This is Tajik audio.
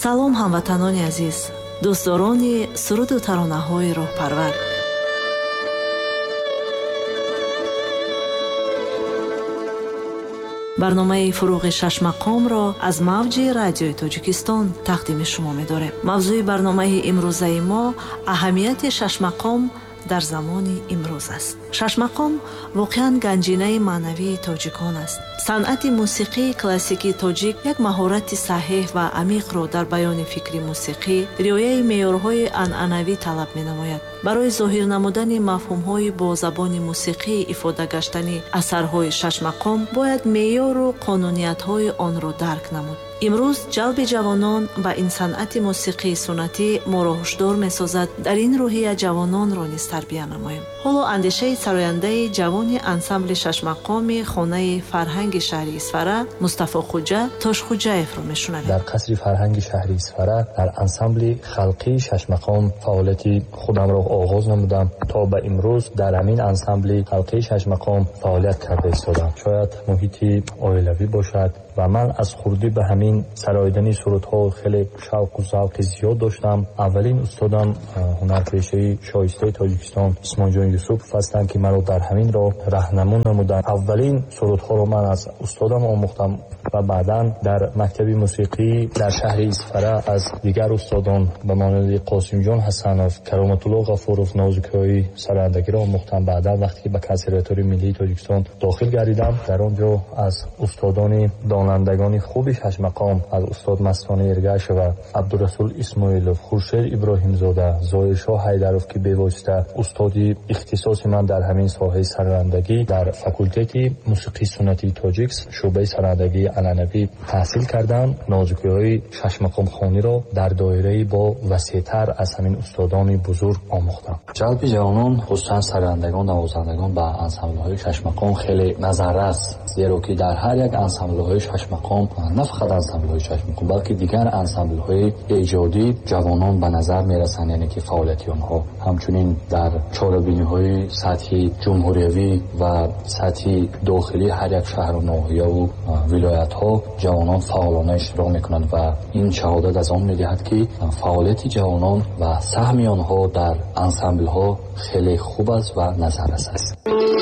Салом, ҳамватанони азиз, дӯстдорони суруду таронаҳои роҳпарвар. Барномаи фуруғи шашмақомро аз мавҷи радиои Тоҷикистон тақдими шумо медорем. Мавзӯи барномаи имрӯзаи мо аҳамияти шашмақом дар замони имрӯз аст. Шашмақом воқеан ганҷинаи маънавии тоҷикон аст. Санъати мусиқии классикии тоҷик як маҳорати саҳеҳ ва амиқро дар баёни фикри мусиқӣ, риояи меъёрҳои анъанавӣ талаб менамояд. Барои зоҳир намудани мафҳумҳои бо забони мусиқӣ ифода гаштани асарҳои шашмақом бояд меъёру қонуниятҳои онро дарк намуд. Имрӯз ҷалби ҷавонон ба ин санъати мусиқии суннатӣ моро ҳушдор месозад, дар ин рӯҳия ҷавононро низ тарбия намоем. Ҳоло андешаи сарояндаи ҷавони ансамбли шашмақоми хонаи фарҳанги шаҳри Исфара Мустафо Хуҷа Тошхуҷаевро мешунавем. Дар қасри фарҳанги шаҳри Исфара дар ансамбли халқии шашмақом фаъолияти худамро оғоз намудам. То ба имрӯз дар ҳамин ансамбли халқии шашмақом фаъолият карда истодам. Шояд муҳити оилавӣ бошад ва ман аз хурдӣ ба ҳамин сароидани сурудҳо хеле шавқу завқи зиёд доштам. Аввалин устодам ҳунарпешаи шоистаи Тоҷикистон Исмоилҷон Юсупов ҳастанд, ки маро дар ҳамин роҳ раҳнамун намуданд. Аввалин сурудҳоро ман аз устодам омӯхтам ва баъдан дар мактаби мусиқӣ дар шаҳри Исфара аз дигар устодон ба монанди Қосимҷон Ҳасанов, Кароматулло Ғафуров нозукиҳои сарояндагиро омӯхтам. Баъдан вақте ки ба консерваторияи миллии Тоҷикистон дохил гардидам, дар он ҷо аз устодони донандагони хуби шашмақом, аз устод Мастона Эргашева, Абдурасул Исмоилов, Хуршед Иброҳимзода, Зоиршоҳ Ҳайдаров, ки бевосита устоди ихтисоси ман дар ҳамин соҳаи сарояндагӣ дар факултети мусиқии суннатии тоҷик шӯъбаи сарояндагии анъанавӣ таҳсил кардам, нозукиҳои шашмақомхониро дар доираи бо васеътар аз ҳамин устодони бузург омӯхтам. Ҷалби ҷавонон, хусусан сарояндагон, навозандагон ба ансамблҳои шашмақом хеле назаррас, зеро ки дар ҳар як ансамблҳои шашмақом, на фақат ансамблҳои шашмақом, балки дигар ансамблҳои эҷодӣ ҷавонон ба назар мерасанд, яъне ки фаъолияти онҳо. Ҳамчунин дар чорабиниҳои сатҳи ҷумҳуриявӣ ва сатҳи дохилӣ ҳар як шаҳру ноҳияву вилоятҳо ҷавонон фаъолона иштирок мекунанд ва ин шаҳодат аз он медиҳад, ки фаъолияти ҷавонон ва саҳми онҳо дар ансамблҳо хеле хуб аст ва назаррас аст.